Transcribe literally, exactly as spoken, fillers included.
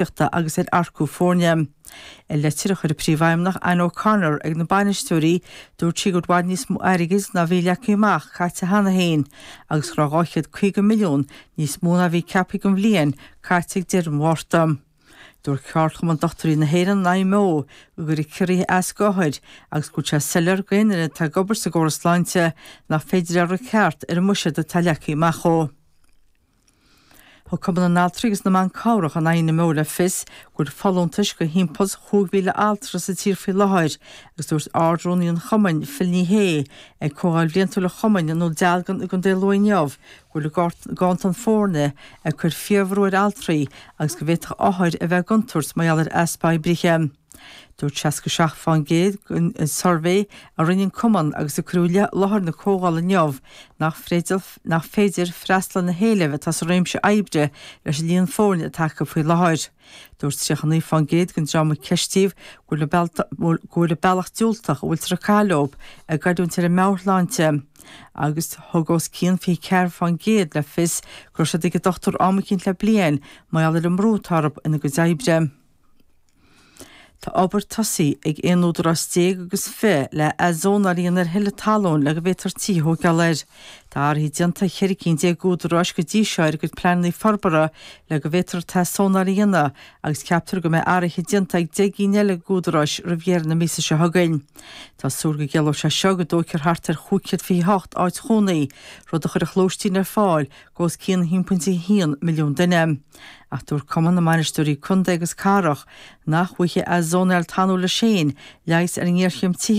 agus ar earcú foirne. I leitir a chuir príomhfheidhmeannach Anne O'Connor ag na bainisteoirí dúirt sí go bhfuil níos mó airgid ná bhí leagtha amach caite cheana féin, agus go raibh dhá chéad caoga milliún níos mó ná bhí ceaptha don bhliain caite ag deireadh an Mhárta. Dúirt Ceardchumann Dochtúirí na hÉireann I M O go gcuirfidh ciorruithe as d'othair agus go bhfuil sé soiléir d'aon duine atá ag obair sa gcóras sláinte nach féidir a rith ceart ar an mbuiséad atá leagtha amach dó. Thug Cumann na nAltraí agus na mBan Cabhrach an I N M O le fios go bhfuil folúntais do thimpeall chúig mhíle altra sa tír faoi láthair agus dúirt Ard-Rúnaí an Chumainn Phil Ní Sheaghdha ag comhdháil bhliantúil an Chumainn i nDún Dealgan i gContae Lú inniu go bhfuil ganntan foirne ag cur fíorbhrú ar altraí agus go bhféadfadh othair a bheith i gcontúirt mar gheall ar easpa oibrithe. Dúirt seasca seacht faoin gcéad den suirbhé a rinne an cumann agus a cuireadh i láthair na comhdhála inniu nach féidir nach féidir freastal na héilimh atá sa réimse oibre leis an líon foirne atá acu faoi láthair. Dúirt tríocha naoi faoin gcéad den dream a ceistíodh go bhfuil bealach diúltach a bhfuiltear ag caitheamh leo ag goilliúint ar a meabhairshláinte. Agus thug os cionn fiche ceathair faoin gcéad le fios go raibh siad ag an dochtúir am eicínt le bliain mar gheall ar an mbrú atá orthu ina gcuid oibre. Tá obair tosaithe ag aon údarás déag agus fiche le athzónáil a dhéanamh ar thuilleadh talún le go bhféadfar tithe a thógáil air. Tá athruithe déanta ceithre cinn déag údaráis go dtí seo ar a gcuid pleananna forbartha le go bhféadfar athzónáil a dhéanamh agus ceaptar go mbeidh athruithe déanta ag deich gcinn eile d'údaráis roimh dheireadh na míosa seo chugainn. Tá súil go gciallóidh sé seo go dtógfar thart ar chúig chéad fiche hocht áit chónaí, rud a chuirfeadh lóistín ar fáil do os cionn haon pointe haon milliún duine. Ach dúirt Cumann na mBainisteoirí Contae agus Cathrach nach bhfaighidh athzónáil talún leis féin leigheas ar an ngéarchéim tithíochta.